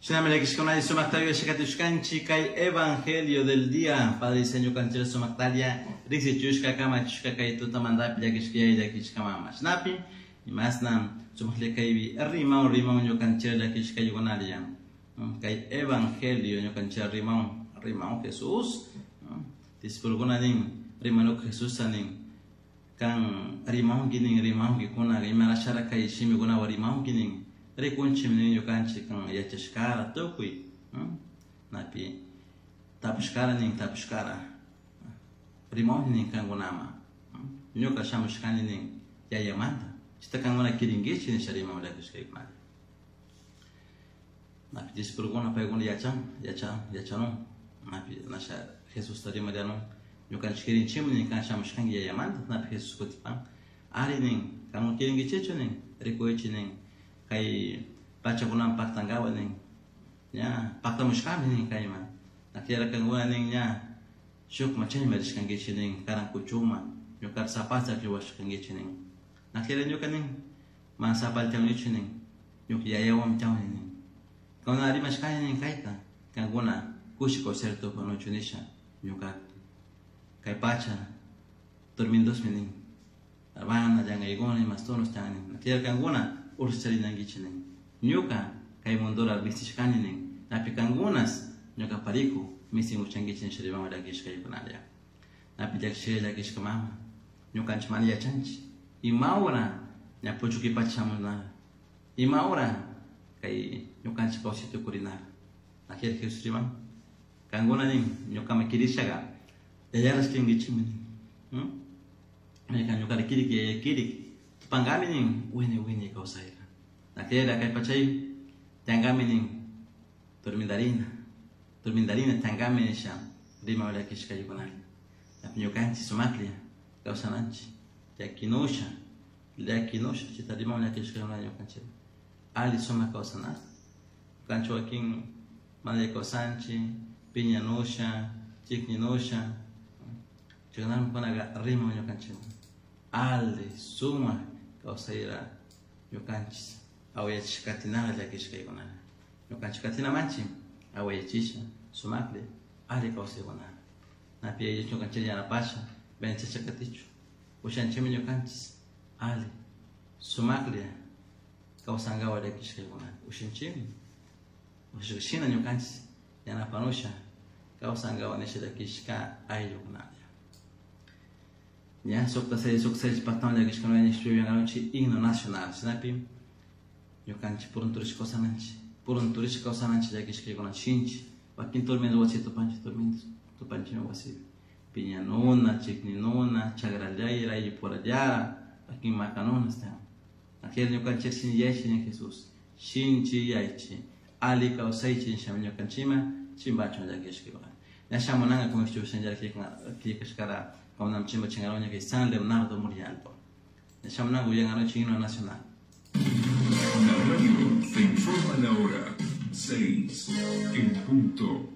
Shinami llakishkuna sumakta yuyashkatushkanchik kay evangelio del día. Padre Señor kanchira sumaktaria riksichushka kamachushka kay tutamantapi llakishkayay llakishka mama. Shinapi imasna sumaklla kaypi rimaw rimaw ñukanchira llakishkaykunaria. Kay evangelio ñukanchira rimaw rimaw Jesús. Discipulokuna nin rimanuk Jesusta nin kan rimawnki nin rimawnki kuna imarashara kay shimikunawan rimawnki nin rikunchik nin ñukanchik kan yachashkara tukuy napi tapushkara nin tapushkara rimawnki nin kankunama ñuka shamushkani nin yayamanta chayta kankuna kirinkichik nisha rimaw llakishkaykunalla napi discipulokuna paykuna yachan yachan yachanun napi nasha Jesusta rimarianun ñukanchik kirinchikmi nin kan shamushkanki yayamanta napi Jesús kutipan ari nin kankuna kirinkichikchu nin rikuychik nin kay pachakunaman paktankawa nin ña paktamushkami nin kayman nakllara kankuna nin ña shukman chayman rishkankichik nin karan kuchuma ñukata sapalta akllawashkankichik nin nakllara ñuka nin mana sapalta chawnichu nin ñuka yayawanmi chawni nin kankuna rimashkani nin kayta kankuna kushi kawsayta tupanuchu nisha ñuka kay pacha turmindosmi nin arbana llankaykuna imastunos chan nin nakllara kankuna ursa charinankichik nin ñuka kay mundura mistishkani nin napi kankunas ñuka pariku mistin uchankichik nisha rimawan llakishkaykunalla napi llakishka llakishka mama ñukanchik mana yachanchik imawra ña puchuki pacha shamunara imawra kay ñukanchik kawsay tukurinara nakllara Jesús riman kankuna nin ñukaman kirishaga yayarash kirinkichikmi nin maykan ñukara kirik yaya kirik tupankami nin wiñay wiñay kawsayta nakllara kay pachay tiyankami nin turmindarina turmindarina tiyankami nisha rimaw llakishkaykunalla napi ñukanchik sumaklla kawsananchik llakinusha llakinusha chayta rimaw llakishkaykunalla ñukanchik alli sumak kawsanata ñukanchik wakin mana kawsanchik piñanusha chikninusha chaykunami kunaqa rimaw ñukanchik alli sumak kawsayra ñukanchik awayachishka katinara llakishkaykunalla ñukanchik katinamanchik awayachisha sumaklla alli kawsaykunara napi ñukanchik yanapasha vencesha katichu ushanchikmi ñukanchik alli sumaklla kawsankawa llakishkaykunalla ushanchikmi ushashina ñukanchik yanapanusha kawsankawa nisha llakishka ayllukunalla ña sukta seis sukta seis paktawan llakishkuna ñishpi himno nacional shinapi ñukanchik purunturishka kawsananchik purunturishka kawsananchik llakishkaykuna shinchi wakin turmindo wasi tupanchik turmindo tupanchikmi wasipi piñanuna chikninuna chakrallayra ayllupurallara wakin makanuna tiyan akllari ñukanchik shinchiyaychik nin Jesús shinchiyaychik alli kawsaychik nishami ñukanchikman chimbachun llakishkaykuna ña shamunanka como killkashkara kawnam chimba chinkaruña kay San Leonardo Murialdo ña shamunanka uyankaruchik himno nacional. La radio te informa la hora 6 en punto.